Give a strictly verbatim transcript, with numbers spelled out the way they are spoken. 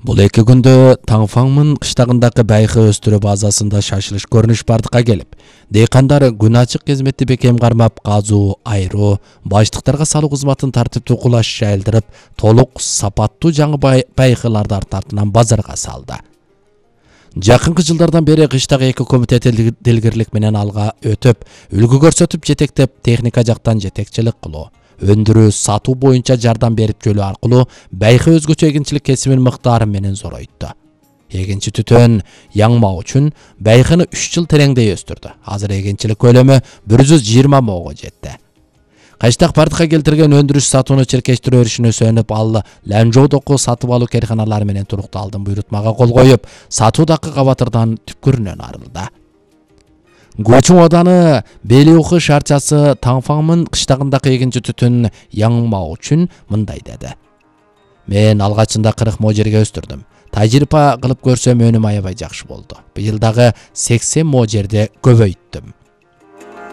Бул эки күндө Таңфаңмын кыштагындагы байкы өстүрүү базасында шашылыш көрүнүш бардыкка келип, дейкандар күн ачык кызметти бекем кармап, казуу, айроо, баштыктарга салуу кызматын тартиптүү кулаш жайылдырып, толук сапаттуу жаңы байкыларды арты артынан базарга салды. Жакынкы жылдардан бери кыштагы эки комитет делгирлик менен алга өтүп, үлгү көрсөтүп, жетектеп, техника жактан жетекчилик кылуу, өндүрүү, сатуу боюнча жардам берип жөлөө аркылуу байкы өзгөчө эгинчилик кесибин мыктары менен зоройтtu. Эгинчи түтөн яңмаа үчүн байкыны үч жыл тереңдей өстүрдү. Азыр эгинчилик көлөмү бир жүз жыйырма моого жетти. Кайштак бардыкка келтирген өндүрүш сатууну чиркештирүү өрүшүнө сөнүп, ал Ланжоодогу сатып алуу керканалары менен турукталдын буйрутмага кол коюп, сатуудагы кабатырдан түпкүрүнөн арылды. Гучун Оданы Белиуху шарчасы Таңфаңмын кыштагындагы эгинчи түтүн яңмаа үчүн мындай деди. Мен алгачында кырк мо жерге өстүрдүм. Тажрыйба кылып көрсөм өнүм аябай жакшы болду. Быйыл дагы сексен мо жерде көбөйттүм.